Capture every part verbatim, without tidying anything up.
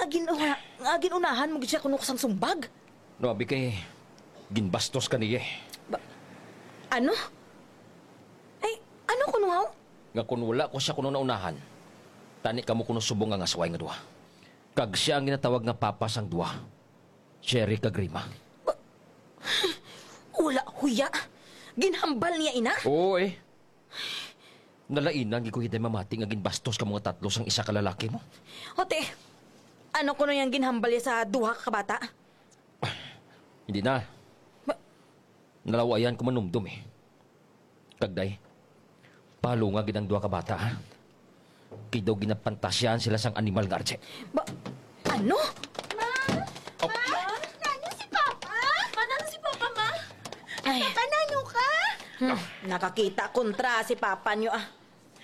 Gin-, nga, nga gin-unahan mo gid siya kuno sang sumbag? No, abi kay ginbastos ka niya eh. Ba-, ano? Ay, ano kuno, haw? Nga kun wala ko siya kuno naunahan, tani kamo kuno subong nga asway nga duha. Kag siya ang ginatawag nga papa sang duha, Cherry kag Rima. Ba-, wala, huya. Ginhambal niya ina? Oo eh. Nalainan gid ko hiday mamati nga ginbastos ka mga tatlo sang isa ka lalaki mo. Ote, ano kuno yang ginhambal niya sa duha ka bata? Hindi na. Ma- Nalawayan ko manumdom eh. Kag day, palunga gid ang duha ka bata, ha? Kay daw ginapantasyahan sila sang animal nga arche. Ba, ano? Ma! Oh. Ma! Nano si Papa? Ma, nano si Papa, ma? Ay. Papa, nano ka? Hmm, nakakita kontra si Papa niyo, ah.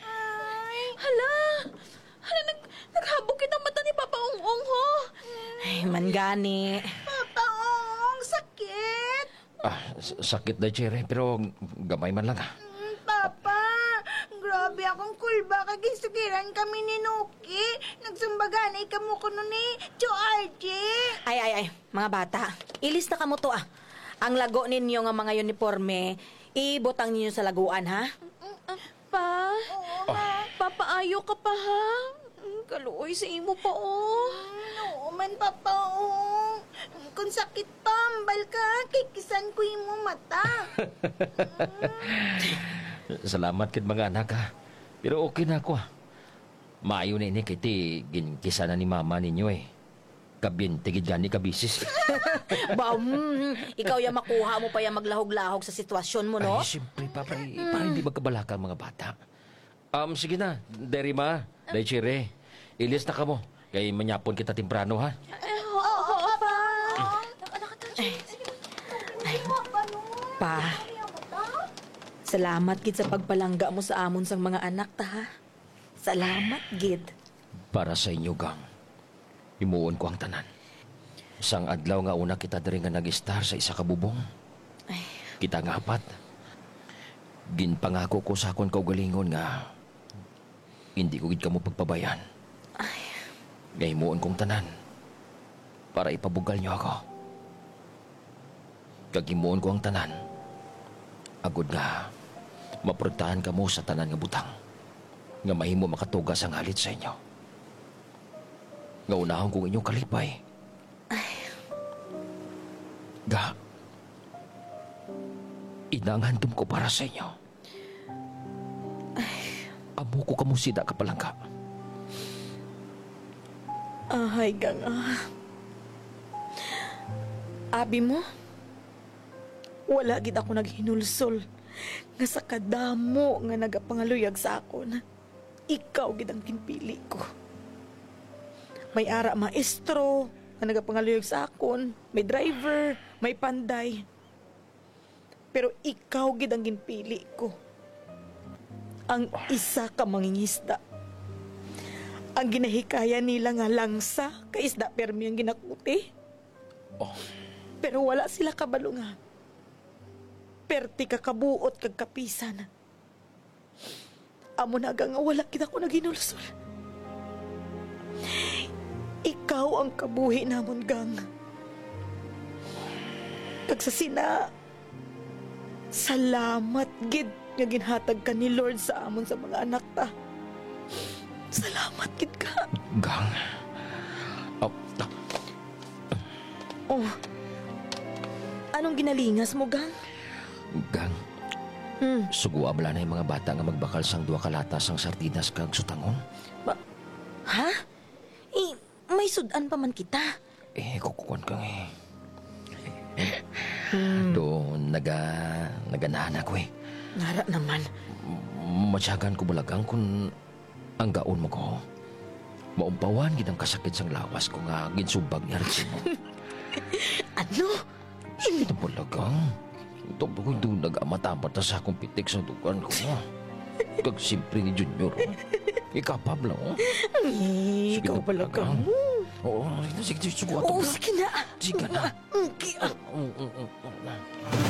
Ay. Hala! Hala, nag-, naghabog kita mata ni Papa Ong-ong, ho. Ay, man gani. Papa Ong, sakit. Ah, s-, sakit na, Cherry, pero gamay man lang, ah. Mm, Papa, grabe akong kulba kag ginsugiran kami ni Nuki. Nagsumbaganay kamo kuno ni Tio Archie. Ay, ay, ay, mga bata, ilis na kamo to, ah. Ang lago ninyo nga mga uniforme, ibutang ninyo sa laguan, ha? Mm, ah, Pa, Oo, ma. Papaayo ka pa, ha? Mm, kaluoy sa imo pa, oh. Mm, oo man, Papa, oh. Kung sakit pa, ambal ka, kay kisan ko imo mata. Salamat gid, mga anak, ha. Pero okay na ako, ah. Maayo na ini kay ti ginkisan na ni mama ninyo, eh. Kabinti gid gani ka bisis. Ba, mm, ikaw ya makuha mo pa ya maglahog-lahog sa sitwasyon mo, no? Ay, siyempre, Papa, eh, para hindi magkabalaka ang mga bata. Um, sige na, Day Rima, Day Cherry. Ilis na kamo, kay manyapon kita temprano, ha? Eh, oo, oo, Pa. Ay. Pa, salamat gid sa pagpalangga mo sa amon sang mga anak ta, ha? Salamat gid. Para sa inyo, gang, himuon ko ang tanan. Sang adlaw nga una kita diri nga nag-istar sa isa ka bubong, Ay. Kita nga apat, ginpangako ko sa akon kaugalingon nga hindi ko gid kamo pagpabayaan. Ay. Nga himuon kong tanan para ipabugal niyo ako. Kag himuon ko ang tanan, agod nga maprotektahan kamo sa tanan nga butang nga mahimo makatuga sang halit sa inyo. Nga unahon kong inyong kalipay. Ay. Ga, ina ang handom ko para sa inyo. Ay. Amo ko kamo sina kapalangga. Ahay, gang, ah. Abi mo, wala gid ako naghinulsol nga sa kadamo nga nagapangaluyag sa akon, ikaw gid ang ginpili ko. May ara maestro nga nagapangaluyag sa akon, may driver, may panday. Pero ikaw gid ang ginpili ko. Ang isa ka mangingisda. Ang ginahikayan nila nga langsa kay isda permi ang ginakuti. Oh. Pero wala sila kabalo nga perti ka kabuot kag kapisan. Amo na, gang, nga wala gid ako naghinulsol. Ikaw ang kabuhi namon, gang. Kag sa sina, salamat gid nga ginhatag ka ni Lord sa amon sa mga anak ta. Salamat gid ka. Gang. Ah, ah. Oh. Anong ginalingas mo, gang? Gang, Hmm. sugua bala na yung mga bata nga magbakal sang duha ka lata sang sardinas kag sutangon? Ba-, ha? Eh, may sud-an pa man kita. Eh, kukukuan ka nga eh. Hmm. Do, naga-, naganahan ako eh. Nara naman. M-, matyagan ko bala, gang, kung ang gaon mo ko, maumpawan gid ang kasakit sang lawas ko nga ginsubag ni Archie mo. Ano? Sige na pala, gang. Ito ba kung doon nag-amat-amat na sa akong pitik sa dugan ko, ha? Kag siyempre ni Junior, oh. Ikapab lang, oh. Ay, sige ikaw na pala, pala, gang. Gang. Oo, sige, sige, sige, subukan Oo, ko. Sige na. Sige na. Mm, ki-, ah. Mm, mm, mm, mm.